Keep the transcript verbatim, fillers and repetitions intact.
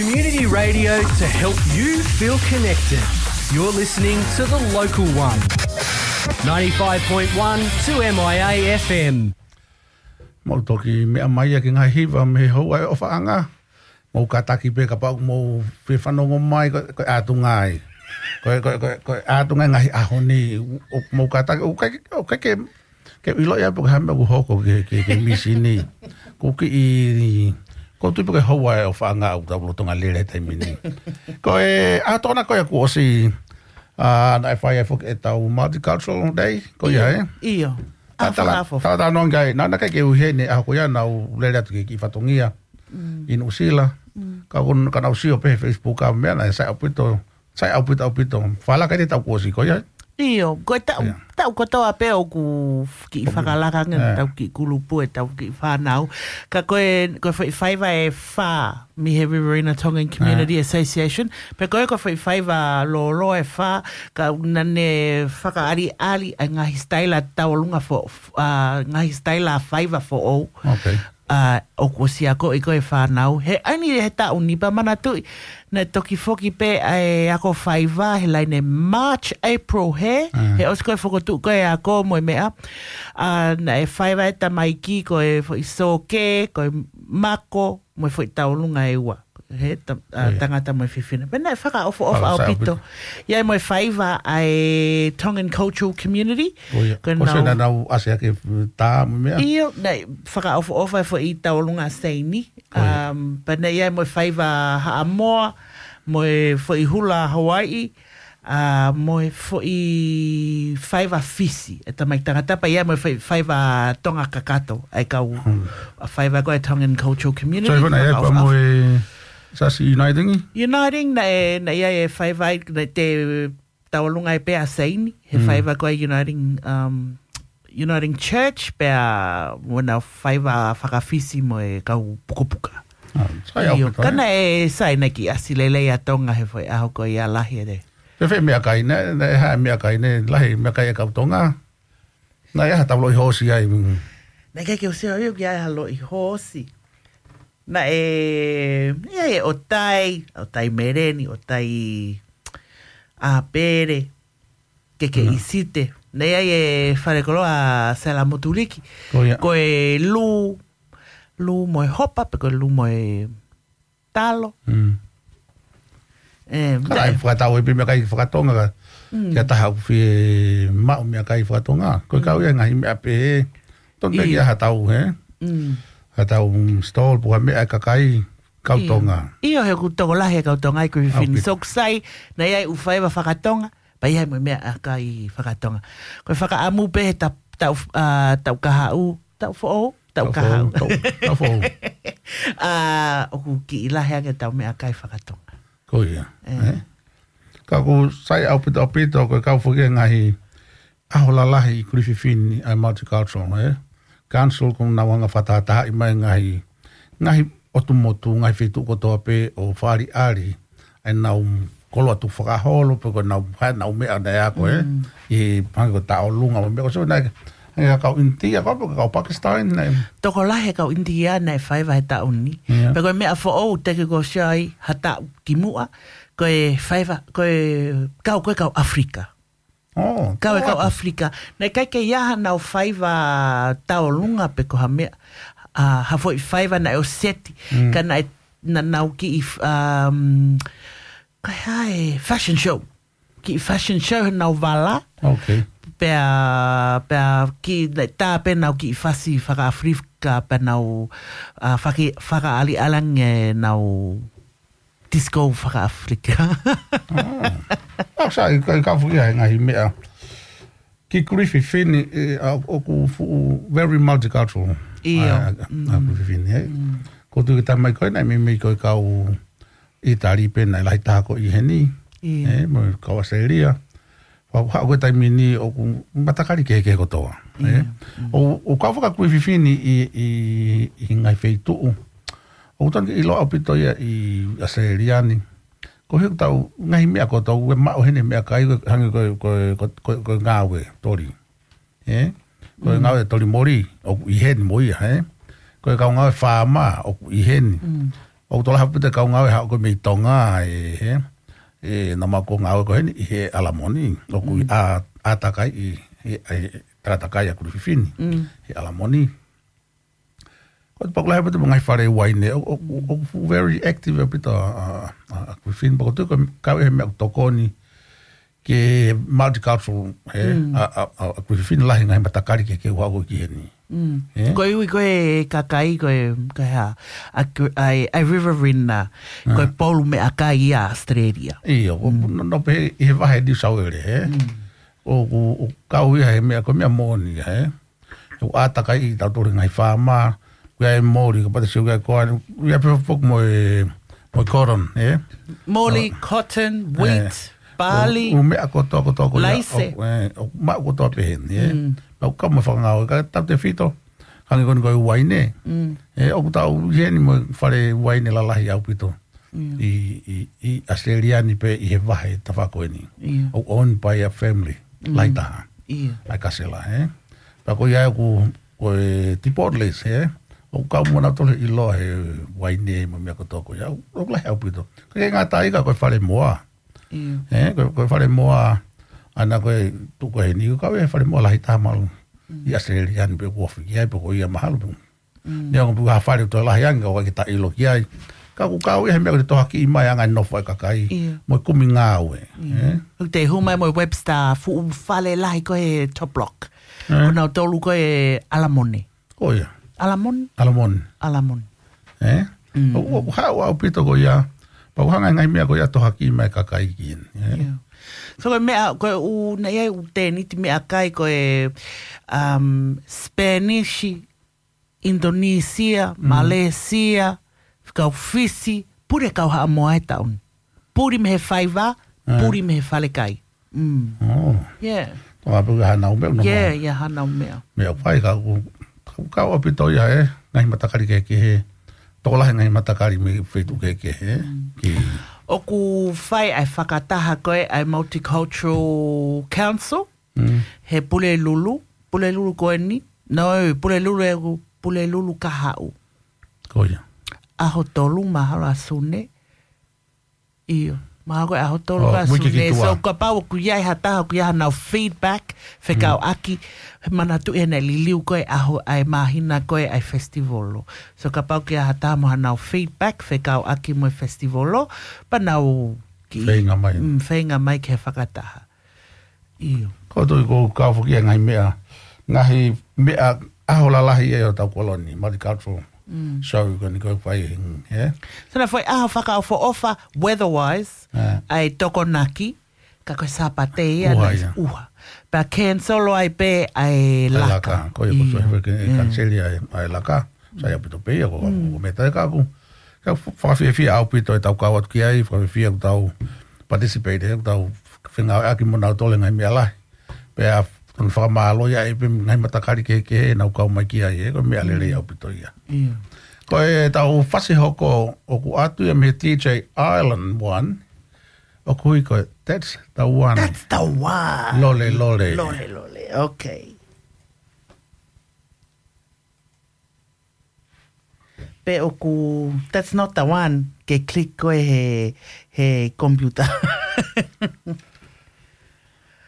Community radio to help you feel connected. You're listening to The Local One. ninety-five point one two M I A F M. Mau toki meʻa mai ia ki he ngaahi hiva mei he houa ʻo e ʻofaʻanga. Mau kātaki pē kapau ʻoku mau fie fanongo mai ko, ko e ʻatunga ia. Ko, ko, ko, ko e ʻatunga ia he ngaahi ʻaho ni. ʻO, mau kātaki, ʻoku ʻikai, ʻoku ʻikai ke ke ʻilo ia pe ko e hā e meʻa ʻoku hoko ki he, ki he, ki he misi ni. Ko e kiʻi, ko e tuʻu pē ko e houa ʻo e ʻofaʻanga ʻoku tau lolotonga lele he taimi ni. Ko e, ʻa, tokona ko ia kuo ʻosi, ʻa, naʻe fai ai foki ʻetau Multicultural Day, ko ia, ʻio, ē? ʻIo. ʻA, ʻa, tala, fakaʻofoʻofa. Tala, tala noa ngai, naʻa, naʻa ke ui heni, ʻa, ko ia naʻa ku lele atu ki he kiʻi fatongia. Mm. ʻI Nuʻusila. Mm. Ka ko, ka naʻa ku sio pē he Facebook ʻa e meʻa naʻe sai ʻaupito, sai ʻaupito, ʻaupito. Fakalaka ʻi he taʻu kuo ʻosi ko ia. ʻIo, ko e taʻu, ʻIo. taʻu kotoa pē ʻoku kiʻi Ko- fakalaka ange ʻIo. ʻetau kiʻi kulupu, ʻetau kiʻi fānau. Ka ko e, ko e foʻi faiva ʻe fā mei he Riverina Tongan Community ʻIo. Association. Pea ko e, ko e foʻi faiva lōloa ʻe fā, ka naʻa ne fakaʻaliʻali ʻa e ngaahi sitaila tauʻolunga fo-, ʻa, ngaahi sitaila faiva foʻou. Ok. ʻA, ʻoku ʻosi akoʻi ko e fānau. He ʻaho ni he taʻu ni pea manatuʻi, naʻe toki foki pē ʻa e ako faiva he laine March, April he, ʻA. he ʻosi ko e fokotuʻu ko e ako mo e meʻa. ʻA, naʻe faiva e tamaiki ko e foʻi sōkē, ko e mako, mo e foʻi tauʻolunga ʻe ua. He ta-, ʻa, ʻIo. tangata mo e fefine. Pea naʻe fakaʻofoʻofa Fakaʻofoʻofa ʻaupito. ʻaupito. ʻI ai mo e faiva ʻa e Tongan Cultural Community. ʻIo. Ko e Ko e nau- naʻa nau ʻasi ake tā mo e meʻa. ʻIo, naʻe fakaʻofoʻofa e foʻi tauʻolunga ʻa Seini. ʻIo. Um, pea naʻe ʻi ai mo e faiva Haʻamoa, mo e foʻi hula Hawaiʻi, ʻa, mo e foʻi faiva Fisi. E tamai tangata pea ʻi ai mo e foʻi faiva Tonga kakato. ʻA e kau, Hmm. ʻa e faiva ko e Tongan Cultural Community, So, ʻi fana, ʻi ai pea fakaʻofoʻofa. mo e Siasi Uniting? Uniting, naʻe, naʻe ʻi ai e faiva, naʻe te tauʻolunga ai pē ʻa Seini, he Mm. faiva ko e Uniting, um, Uniting Church, pea mo e nau faiva faka-Fisi mo e kau pukapuka. ʻA, sai ʻIo, ʻaupito, ka ē? naʻe sai naʻe kiʻi ʻasi lelei ʻa Tonga he foʻi ʻaho ko ia lahi ʻe te. Fēfē meʻakai, naʻe, naʻe hā meʻakai, naʻe lahi meʻakai ʻa e kau Tonga? Naʻe ʻi ai ha tau loʻi hoosi ai, mm. Naʻe ʻikai ke u sio au ki ai ha loʻi hoosi. Naʻe, ʻi ai e ʻotai, ʻotai meleni, ʻotai ʻāpele, keke Mm. ʻisite. Naʻe ʻi ai e falekoloa Sela Motuliki. Ko ia. Ko e lū, lū mo e hopa, pe ko e lū mo e talo. Mm. ʻE, Ka naʻe naʻe fakatau e pē meʻakai fakatonga ka, Mm. ki ha taha ʻoku fie maʻu meʻakai fakatonga. Ko e kau Mm. ia ngaahi meʻa pehē. Tonu pē ʻIo. ki ha tau, hē? Mm. Ha tau stall pe ko ha meʻa ʻa e kakai kau ʻIo. Tonga. ʻIo, he ʻoku tokolahi e kau Tonga ʻi Kuifini. ʻAupito. Soksai, naʻe ʻi ai ʻū faiva fakatonga, pea ʻi ai mo e meʻakai fakatonga. Ko e fakaʻamu pē he ta-, taʻu, ʻa, taʻu kahaʻu, taʻu foʻou, taʻu Taʻu kahaʻu. foʻou, taʻu, taʻu foʻou. ʻA, ʻoku kiʻi lahi ange ʻetau meʻakai fakatonga. Ko ia, ʻE. ʻe? Ka ʻoku sai ʻaupito, ʻaupito, ko e kau foki e ngaahi ʻaho lalahi ʻi Kuifini ʻa e Multicultural, ʻe? Council ʻoku nau hanga fakatahatahaʻi mai ngaahi, ngaahi ʻotu motu, ngaahi feituʻu kotoa pē ʻo fakaʻaliʻali ʻa e nau koloa tukufakaholo, pe ko e nau, ha nau meʻa naʻe ako, ʻe? Mm. ʻI he pange ko e tauʻolunga, mo e meʻa ko e so naʻe, ʻa e kau ʻInitia, ko e kau Pakistan, naʻe. Tokolahi e kau ʻInitia naʻe faiva he taʻu ni. Ia. Pea ko e meʻa foʻou te ke ko sia ai ha taʻu ki muʻa, ko e faiva, ko e kau, ko e kau ʻAfilika. ʻO, Kau e kau ʻAfilika. Naʻe ʻikai ke ʻi ai ha nau faiva tauʻolunga pe ko ha meʻa, ʻa, ha foʻi faiva naʻe ʻoseti. Mm. Ka naʻe, naʻa nau kiʻi, um, ko e hā e fashion show. Kiʻi fashion show he nau vala. Ok. Pea, pea kiʻi, naʻe tā pē nau kiʻi fasi fakaʻAfilika, pea nau, ʻa, faki-, fakaʻaliʻali ange nau disco fakaʻAfilika. ʻA. ʻA, sai, ka, ka fuki ai ngaahi meʻa. Ki Kuifini, ʻe, ʻa, ʻoku fuʻu very multicultural. ʻIo. ʻA, ʻa, ʻa Mm. Kuifini, ʻe. Mm. Ko e tuʻu ki he taimi ko ē naʻe meimei ko e kau ʻItali pē naʻe lahi taha ko ē ʻi heni. ʻIo. ʻE, mo e kau ʻAositelēlia. Pea haʻu ko e taimi ni ʻoku matakali kehekehe kotoa, ʻe. ʻIo. Mm. ʻO, ʻo kau faka Kuifini ʻi, ʻi, ʻi he ngaahi feituʻu. ʻOku tonu ke ʻilo ʻaupito ia ʻi ʻAositelēlia ni. Ko e hā ʻetau ngaahi meʻa ko ē ʻoku tau maʻu heni meʻakai ko e hangē ko e, ko e, ko e, ko e, ko e ngāue toli. ʻE? Ko e Mm. ngāue toli moli, ʻoku ʻi heni mo ia, ʻe? Ko e kau ngāue faama, ʻoku ʻi heni. Mm. ʻOku tokolahi ʻaupito e kau ngāue haʻu ko ē mei Tonga, ē, he, ē, naʻa mau ō ʻo ngāue ko eni ʻi he ʻAlamoni. ʻOku ʻi ʻa, ʻa takai ʻi, ʻi, ʻi, tala takai ʻa Kuififini. He ʻAlamoni. Ko e tokolahi ʻaupito mo e ngaahi fale uaine. ʻO, ʻo, ʻo, ʻoku very active ʻaupito ʻa, ʻa, ʻa, ʻa Kuififini. Pea ʻoku ou tui ko e kau ʻi he meʻa ʻoku tokoni ke multicultural, ē, ʻa, ʻa, ʻa, ʻa Kuififini lahi ngaahi matakali kehekehe ʻoku haʻu ki heni. Ē? Ko e ui ko e kakai ko e, ko e hā, ʻa, ʻa, ʻa Riverina, ko e polu meʻakai ʻa Australia. ʻIo, ʻo, no, no pē ʻi he vahe New South Wales, ē? ʻOku, ʻoku kau ia he meʻa ko e meʻa moʻoni, ē? ʻOku ʻātakai ʻi tautolu he ngaahi faama, ʻoku ʻi ai e moli, kapau te sio ki ai ko ē, ʻoku ʻi ai pē foki mo e, mo e cotton, ē? Moli, cotton, wheat, barley, ʻū meʻa kotoa, kotoa ko ia, laise. ʻOku, ē, ʻoku maʻu kotoa pē heni, ē? Pea ʻoku kau mo e fakangāue, ka tautefito, hangē ko eni ko e uaine. Ē, ʻoku tau ʻi heni mo e fale uaine lalahi ʻaupito. ʻI, ʻi, ʻi ʻAositelēlia ni pē ʻi he vahe tafaʻaki ko eni. ʻOku owned by a family, lahi taha. ʻA e Kasela, ē? Pea ko ia ʻoku, ko e Deep Waters, ē? ʻOku kau mo nautolu ʻiloa he uaine mo e meʻa kotoa ko ia. ʻOku, ʻoku lahi ʻaupito. Ka ʻikai ngata ai ka ko e fale moa. Ē, ko, ko e fale moa, ʻa ia ko e, tuʻu ko eni, ʻoku kau he fale moa lahi taha malu. ʻI ʻAositelēlia ni pē ʻoku ofi ki ai, pea ko ia mahalo pē. Neongo pē ha fale ʻoku toe lahi ange, ʻoku ʻikai ke ta ʻilo ki ai. Ka ʻoku kau ia he meʻa ko e tohoakiʻi mai ʻa e ngaahi nofo ʻa e kakai. Mo e kumi ngāue. ʻOku te hū mai mo e Webster fuʻu fale lahi ko e Top Block. Ko nautolu ko e ʻAlamoni. Ko ia. ʻAlamoni? ʻAlamoni. ʻAlamoni. Ē? ʻOku, ʻoku haʻu ʻaupito ko ia. Pea ʻoku hanga e ngaahi meʻa ko ia tohoakiʻi mai kakai ki heni. Ē? So ko e meʻa, ko e ʻū, naʻe ʻi ai ʻū tēniti meʻakai ko e, um, Spanish, Indonesia, Malaysia, kau Fisi, puli kau Haʻamoa he taʻu ni. Puli mei he faiva, puli mei he falekai. Mm. Yeah. Toa pē ka hanau meʻa, nau meʻa. Yeah, yeah, hanau meʻa. Meʻa fai ka ʻoku, ʻoku kau ʻaupito ia ē, ngaahi matakali kehekehe. Tokolahi ngaahi matakali mei he feituʻu kehekehe, ē. ʻOku fai ʻa e fakataha ko ē ʻa e Multicultural Council, he Pulelulu, Pulelulu ko eni, no, Pulelulu ʻe ʻoku, Pulelulu Kahaʻu. Ko ia. ʻAho tolu mahalo ʻa Sune. ʻIo. Mahalo ko e ʻaho tolu ʻa Sune. So kapau ʻoku ʻi ai ha taha, ʻoku ʻi ai hanau feedback, fekauʻaki, manatuʻi ʻene liliu ko e ʻaho ʻa e māhina ko ē ʻa e festival. So kapau ʻoku ʻi ai ha taha mo hanau feedback, fekauʻaki mo e festival, pea nau kiʻi feinga mai. Mm, feinga mai ki he fakataha. ʻIo. Ko e tui ʻoku kau foki e ngaahi meʻa, ngaahi meʻa ʻaho lalahi ʻe ʻo tau koloni, multicultural show ko eni ko e fai, ē? So naʻe fai ʻaho fakaʻofoʻofa, weather-wise, ʻa e Tokonaki, ka ko e Sāpate ia ʻuha. Pea cancel ai pē ʻa e laka. Ko ia, ko e cancel ai ʻa e laka. Sai ʻaupito pē ia, ko, ko e meʻa tā ʻoku, ka fakafiefia ʻaupito ʻetau kau atu ki ai, fakafiefia ʻoku tau participate, ʻoku tau fengāueʻaki mo nautolu he ngaahi meʻa lahi. Pea ʻoku fakamālō ia ʻe pē ngaahi matakali kehekehe ʻenau kau mai ki ai, ē, ko e meʻa lelei ʻaupito ia. Ko ʻetau fasi hoko ʻoku ʻoatu ia mei he D J Island One, ʻoku ui ko e That's the One. That's the One. Lole, lole. Lole, lole. Okay. Pe ʻoku, that's not the one, ke click ko ē he, he computer.